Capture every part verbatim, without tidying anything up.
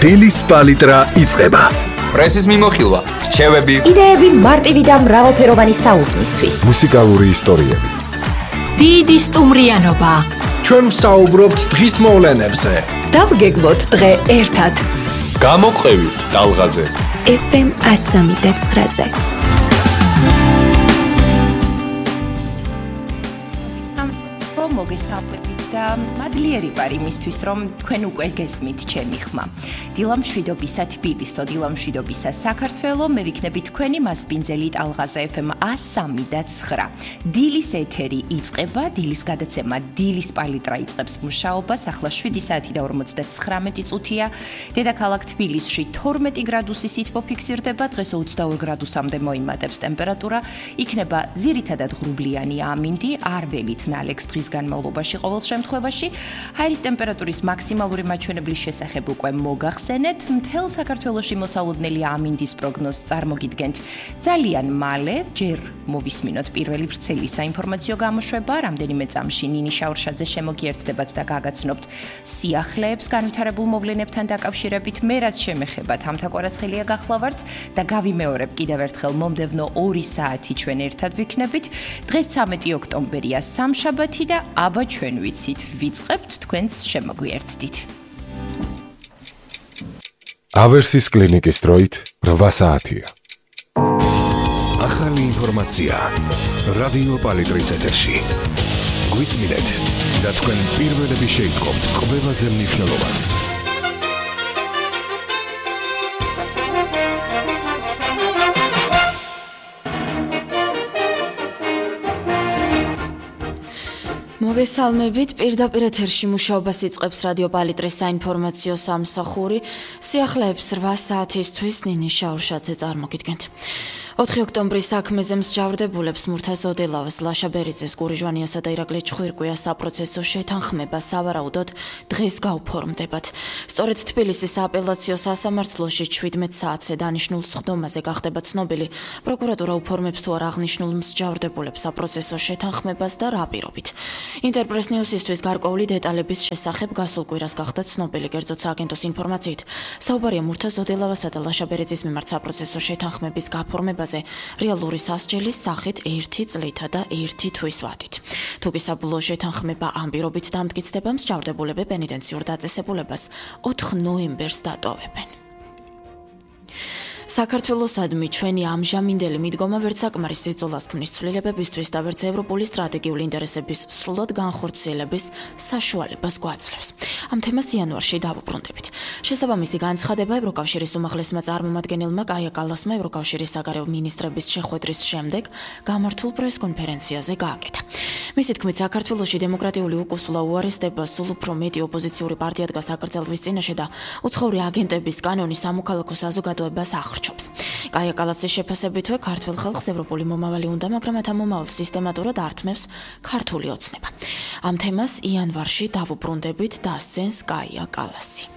დილის პალიტრა იწყება. პრესის მიმოხილვა, რჩევები, იდეები მარტივი და მრავალფეროვანი საუზმისთვის. მუსიკალური ისტორიები. დიდი სტუმრიანობა. ჩვენ ვსაუბრობთ დღის მოვლენებზე. დავგეგმოთ დღე ერთად. გამოყევი ტალღაზე. ეფ ემ one oh three point nine-ზე. მოგესალმებით და მადლიერი ვარ იმისთვის, რომ თქვენ უკვე გესმით ჩემი ხმა. დილა მშვიდობისა თბილისო, დილა მშვიდობისა საქართველო, მე ვიქნები თქვენი მასპინძელი ტალღაზე ეფ ემ one oh three point nine. დილის ეთერი იწყება, დილის გადაცემა, დილის პალიტრა იწყებს მუშაობას, ახლა შვიდი საათი და ორმოცდათხრამეტი წუთია. დედაქალაქ თბილისში თორმეტი გრადუსი სითბო ფიქსირდება, დღეს ოცდაორ გრადუსამდე მოიმატებს ტემპერატურა, იქნება ძირითადად ღრუბლიანი ამინდი, არ ველით ნალექს დღის განმავლობაში ყოველ შემთხვევაში. ჰაერის ტემპერატურის მაქსიმალური მაჩვენებლის შესახებ უკვე მოგახსენეთ. მთელ საქართველოში მოსალოდნელი ამინდის პროგნოზს წარმოგიდგენთ ძალიან მალე, ჯერ მოვისმინოთ პირველი ვრცელი საინფორმაციო გამოშვება, რამდენიმე წამში ნინი შაურშაძე შემოგიერთდებათ და გაგაცნობთ სიახლეებს განვითარებულ მოვლენებთან დაკავშირებით. მე რაც შემეხება თამთა კვარაცხელია გახლავართ და გავიმეორებ კიდევ ერთხელ მომდევნო ორი საათი ჩვენ ერთად ვიქნებით. დღეს ცამეტი ოქტომბერია, სამშაბათი და აბა ჩვენ ვიცით, ვიწყებთ თქვენს შემოგვიერთდით. ავერსის კლინიკის დროით რვა საათია. ახალი ინფორმაცია რადიო პალიტრის ეთერში. გვისმინეთ და თქვენ პირველები შეიტყობთ ყველაზე მნიშვნელოვანს. მოგესალმებით, პირდაპირ ეთერში მუშაობას იწყებს რადიო პალიტრის საინფორმაციო სამსახური. სიახლეებს რვა საათისთვის ნინი შაურშაძე წარმოგიდგენთ. ოთხი ოქტომბრის საქმეზე მსჯავრდებულებს მურთა ზოდელავას, ლაშა ბერიძეს, გური ჟვანიასა და ირაკლი ჩხვირკვიას საპროცესო შეთანხმება სავარაუდოდ დღეს გაუფორმდებათ. სწორედ თბილისის სააპელაციო სასამართლოში ჩვიდმეტ საათზე დანიშნულ სხდომაზე გახდება ცნობილი, პროკურატურა უფორმებს თუ არა აღნიშნულ მსჯავრდებულებს საპროცესო შეთანხმებას და რა პირობით. ინტერპრეს ნიუსისთვის გარკვეული დეტალების შესახებ გასულ კვირას გახდა ცნობილი, კერძოდ სააგენტოს ინფორმაციით, საუბარია მურთა ზოდელავასა და ლაშა ბერიძის მიმართ საპროცესო შეთანხმების გაფორმება რეალური სასჯელის სახით ერთი წლითა და ერთი თვის ვადით. თუ კი საბოლოო შეთანხმება ამ პირობით დამტკიცდება, მსჯავრდებულები პენიტენციურ დაწესებულებას ოთხ ნოემბერს დატოვებენ. საქართველოსადმი ჩვენი ამჟამინდელი მიდგომა ვერც საკმარის სიძულას ქმნის ცვლილებებისთვის და ვერც ევროპული სტრატეგიული ინტერესების სრულად განხორციელების საშუალებას გვაძლევს. ამ თემას იანვარში დავუბრუნდებით. შესაბამისი განცხადება ევროკავშირის უმაღლესმა წარმომადგენელმა კაია კალასმა ევროკავშირის საგარეო მინისტრების შეხვედრის შემდეგ გამართულ პრესკონფერენციაზე გააკეთა. მისი თქმით, საქართველოში დემოკრატიული უკუსულა უარესდება, სულ უფრო მეტი ოპოზიციური პარტია დგას აკრძალვის წინაშე და უცხოური აგენტების კანონი სამოქალაქო საზოგადოებას ახრჩობს. კაია კალასის შეფასებითვე ქართველ ხალხს ევროპული მომავალი უნდა, მაგრამ ამ მომავალს სისტემატურად ართმევს ქართული ოცნება. ამ თემას იანვარში დავუბრუნდებით, დასცენს კაია კალასი.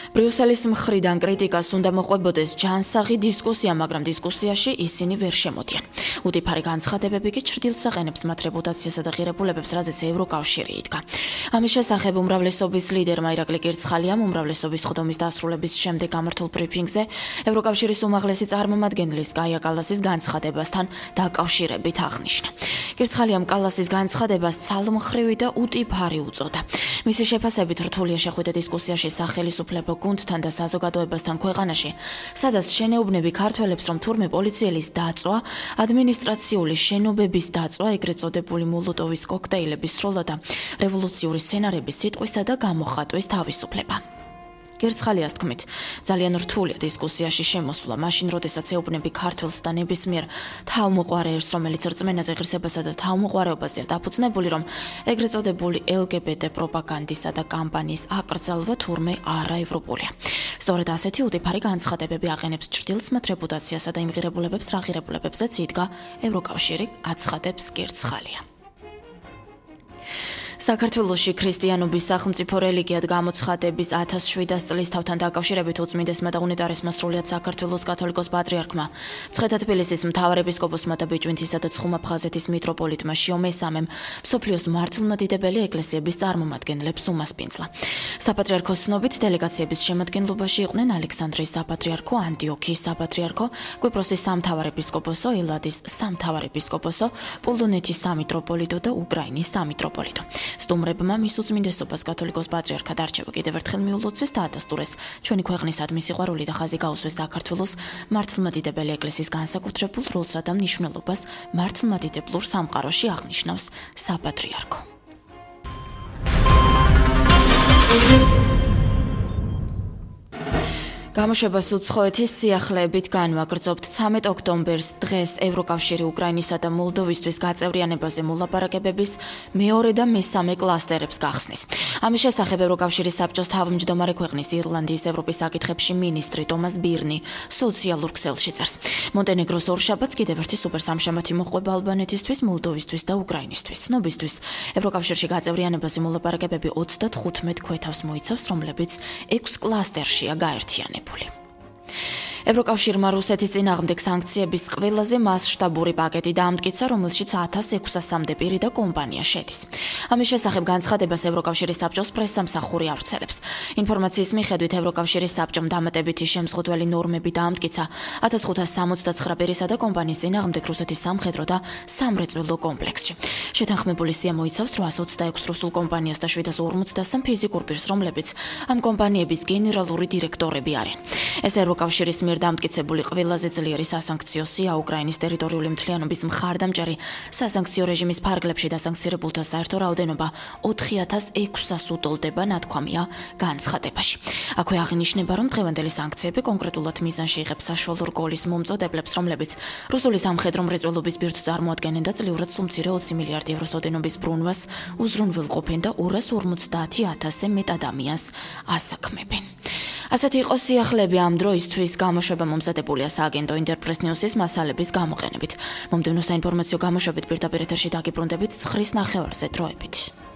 ბრიუსელის მხრიდან კრიტიკას უნდა მოყვებოდეს ჯანსაღი დისკუსია, მაგრამ დისკუსიაში ისინი ვერ შემოდიან. უდიფარი განცხადებები კი ჩრდილს აყენებს მათ რეპუტაციასა და ღირებულებებს, რაზეც ევროკავშირი იდგა. ამის შესახებ უმრავლესობის ლიდერმა ირაკლი კირცხალიამ უმრავლესობის სხდომის დასრულების შემდეგ გამართულ ბრიფინგზე ევროკავშირის უმაღლესი წარმომადგენლის კაია კალასის განცხადებასთან დაკავშირებით აღნიშნა. კირცხალიამ კალასის განცხადებას ცალმხრივი და უდიფარი უწოდა. მისი შეფასებით რთულია შეხვედრა დისკუსიაში სახელისუფლებო გუნდთან და საზოგადოებასთან ქვეყანაში, სადაც შენეუბნები ქართველებს, რომ თურმე პოლიციელის დაწვა, ადმინისტრაციული შენობების დაწვა, ეგრეთ წოდებული მოლოტოვის კოქტეილების სროლა და რევოლუციური სცენარების სიტყვისა და გამოხატვის თავისუფლება. კირცხალიას თქმით, ძალიან რთულია დისკუსიაში შემოსვლა, მაშინ როდესაც ეუბნები ქართველს და ნებისმიერ თავმოყვარეებს, რომელიც რწმენაზე, ღირსებასა და თავმოყვარეობაზეა დაფუძნებული, რომ ეგრეთ წოდებული ელ გი ბი ტე პროპაგანდისა და კამპანიის აკრძალვა თურმე არაევროპულია. სწორედ ასეთი უდიფარი განცხადებები აყენებს ჩრდილს მათ რეპუტაციასა და იმ ღირებულებებს, რა ღირებულებებზეც იდგა ევროკავშირი, აცხადებს კირცხალია. საქართველოში ქრისტიანობის სახელმწიფო რელიგიად გამოცხადების ათას შვიდას წლის თავთან დაკავშირებით უწმინდესმა და უნეტარესმა სრულიად საქართველოს კათოლიკოს პატრიარქმა, მცხეთა თბილისის მთავარ ეპისკოპოსმა და ბიჭვინთისა და ცხუმა-ფხაზეთის მიტროპოლიტმა შიო მესამემ მსოფლიოს მართლმადიდებელი ეკლესიების წარმომადგენლებს უმასპინძლა. საპატრიარქოს ცნობით დელეგაციების შემადგენლობაში იყვნენ ალექსანდრიის საპატრიარქო, ანტიოქიის საპატრიარქო, კვიპროსის სამთავარ ეპისკოპოსო, ელადის სამთავარ ეპისკოპოსო, პოლონეთის სამიტროპოლიტო და უკრაინის სამიტროპოლიტო. სტუმრებმა მის უწმინდესობას კათოლიკოს პატრიარქად არჩევა კიდევ ერთხელ მიულოცეს და ადასტურეს ჩვენი ქვეყნისადმი სიყვარული და ხაზი გაუსვეს საქართველოს მართლმადიდებელი ეკლესიის განსაკუთრებულ როლსა და მნიშვნელობას მართლმადიდებლურ სამყაროში აღნიშნავს საპატრიარქო. გამოშვებას უცხოეთის სიახლეებით განვაგრძობთ. ცამეტ ოქტომბერს დღეს ევროკავშირი უკრაინისა და მოლდოვისთვის გაწევრიანებაზე მოლაპარაკებების მეორე და მესამე კლასტერებს გახსნის. ამის შესახებ ევროკავშირის საბჭოს თავმჯდომარე ქვეყნის ირლანდიის ევროპის საკითხებში მინისტრი ტომას ბირნი სოციალურ ქსელში წერს. მონტენეგროს ორშაბათს კიდევ ერთი სუპერსამშამათი მოჰყვება ალბანეთისთვის, მოლდოვისთვის და უკრაინისთვის. ცნობისთვის, ევროკავშირში გაწევრიანებაზე მოლაპარაკებები ოცდათხუთმეტ ქვეთავს მოიცავს, რომლებიც ექვს კლასტერშია გაერთიანებული. ევროკავშირმა რუსეთის წინააღმდეგ სანქციების ყველაზე მასშტაბური პაკეტი დაამტკიცა, რომელშიც ათას ექვსასამდე პირი და კომპანია შედის. ამის შესახებ განცხადებას ევროკავშირის საბჭოს პრესსამსახური ავრცელებს. ინფორმაციის მიხედვით ევროკავშირის საბჭომ დამატებითი შემზღუდველი ნორმები დაამტკიცა ათას ხუთას სამოცდაცხრა პირისა და კომპანიის წინააღმდეგ რუსეთის სამხედრო და სამრეწველო კომპლექსში. შეთანხმებული სია მოიცავს რვაას ოცდაექვს რუსულ კომპანიას და შვიდას ორმოცდასამ ფიზიკურ პირს, რომლებიც ამ კომპანიების გენერალური დირექტორები არიან. ეს ევროკავშირის მიერ დამტკიცებული ყველაზე ძლიერი სასანქციო სია უკრაინის ტერიტორიული მთლიანობის მხარდამჭერი სასანქციო რეჟიმის ფარგლებში დასანქცირებულთა საერთო რაოდენობა ოთხი ათას ექვსას უტოლდება, ნათქვამია განცხადებაში. აქვე აღინიშნება, რომ დღევანდელი სანქციები კონკრეტულად მიზანში იღებს საშუალო რგოლის მომწოდებლებს, რომლებიც რუსული სამხედრო მრეწველობის ბირთვს წარმოადგენენ და წლიურად სულ მცირე ოცი მილიარდი ევროს ოდენობის ბრუნვას უზრუნველყოფენ და ორას ორმოცდაათი ათასზე მეტ ადამიანს ასაქმებენ. ასეთი იყო სიახლეები ამ დროისთვის. გამოშვება მომზადებულია სააგენტო ინტერპრეს ნიუსის მასალების გამოყენებით. მომდევნო საინფორმაციო გამოშვებით პირდაპირ ეთერში დაგიბრუნდებით ცხრის ნახევარზე დროებით.